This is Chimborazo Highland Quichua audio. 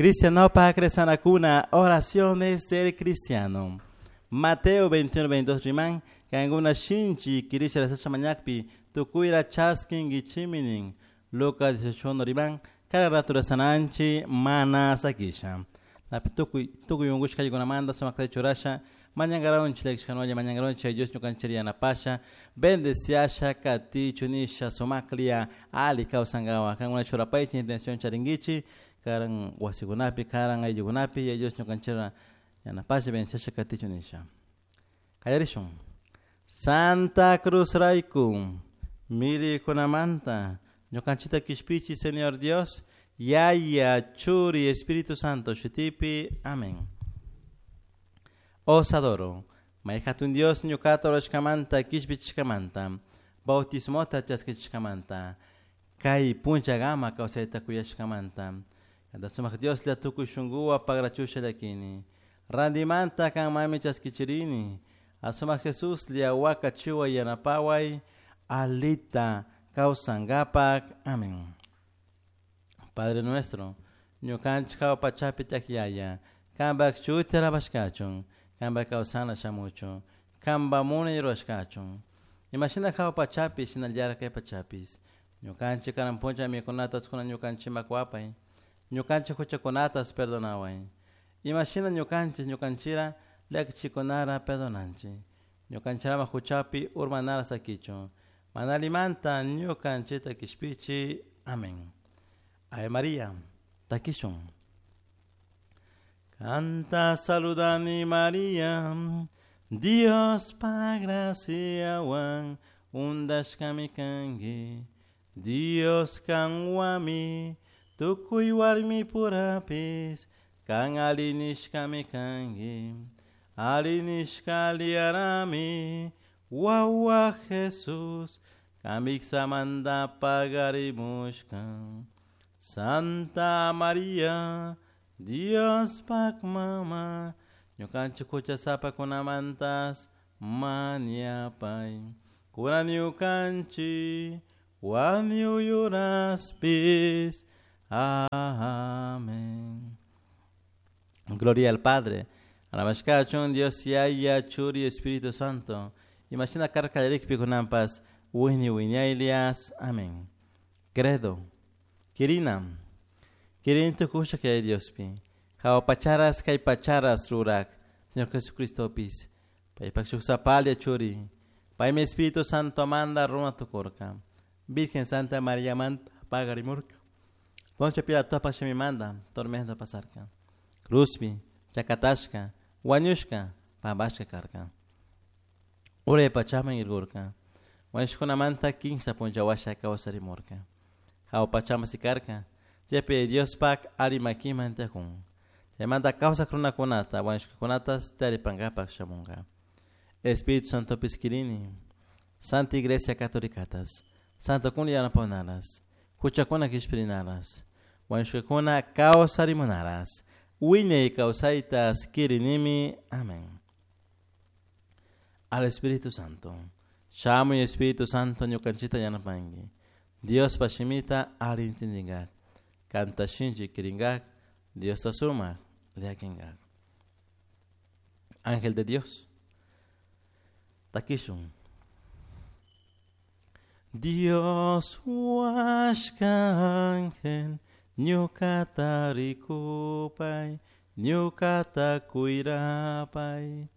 Cristianopak rezanakuna, oraciones del cristiano. Mateo 21, 22 riman, kankuna shinchi kirisha rezasha mañakpi, tukuyra chaskinkichimi nin. Lucas 18 riman, cada rato rezananchi mana sakisha. Napi tukuy tukuy unkushkaykunamanta sumakta churasha, mañankaronchik llakishkanolla mañankaronchik Dios ñukanchik yanapasha, bendeciasha katichu nisha sumaklia ali kawsankawa. Kankuna churapaychik intención charinkichik, karan wasikunapi, karan ayllukunapi, Yaya Dios ñukanchikta yanapasha bendeciasha katichu nisha. Qallarishun. Santa Cruz rayku, mirikunamanta, ñukanchikta kishpichi Señor Dios, Yaya, Churi, Espíritu Santo, shutipi, amén. Os adoro. May hatun Dios ñuqata rurashkamanta kishpichishkamanta, bautismota chaskichishkamanta, kay punchakama kawsayta kuyashkamanta. Kanta sumak Dioslla tukuy shunkuwan pagrachusha llakini. Rantimanta kanmanmi chaskichirini. Asumak Jesuslla wakachiway yanapaway alita kawsankapak. Amén. Padre nuestro, ñukanchik hawa pachapi tiyak Yaya, kanpak shuti alabashkachun, kanpak kawsana shamuchun, kanpak munay rurashkachun. Imashina hawa pachapi shinallatak kay pachapish. Ñukanchik karan puncha mikunatas kunan ñukanchikman kuwapay. Ñukanchik huchakunatas perdonaway. Imashina ñukanchik ñukanchira llakichikunara perdonanchik. Ñukanchirama huchapi urmanara sakichun. Mana allimanta ñukanchikta kishpichi. Amén. Ave María, takishun. Kanta saludani María, Diospak graciawan juntashkami kanki. Dios kanwami, tukuy warmipurapish, kan alli nishkami kanki. Alli nishka aliyarami, wawa Jesús, kan wiksamanta pagarimushka. Santa María, Diospak mama, ñukanchik huchasapakunamantas mañapay. Kunan ñukanchik wañuy uraspish. Amén. Gloria al Padre, alabashkachun Dios Yaya, Churi, Espíritu Santo. Imashina karka kallarikpi kunanpas wiñay wiñaylias. Amén. Credo. Kirina. Kirini tukushak Yaya Diospi. Hawa pacharas kay pacharas rurak. Señor Jesucristopis. Paypak shuk sapalla churi. Paymi Espíritu Santo manda runa tukurka. Virgen Santa María manta pagarimurka. Poncio Pilato shimimanta tormento pasarka. Cruzpi, chakatashka, wañushka, pampashka karka. Uray pachaman irkurka. Wañushkunamanta kinsa puncha washa kawsarimurka. Hawa pachaman sikarka. Chaypi Diospak alli makiman tiyakun. Chaymanta kawsak runakunata, wañushkakunatas taripankapak shamunka. Espíritu Santopis kirini, Santa Iglesia Católicatas, Santokuna yanapanaras, huchakuna kishpirinaras, wañushkakuna kawsarimunaras, wiñay kawsaytas kirinimi. Amén. Al Espíritu Santo. Shamuy Espíritu Santo ñukanchikta yanapanki. Diospa shimita alli intindingak. Kanta shinchi kiringak. Diosta sumak llakinkak. Ángel de Dios. Takishun. Dios huashka ángel, ñukata rikupay, ñukata cuirapay.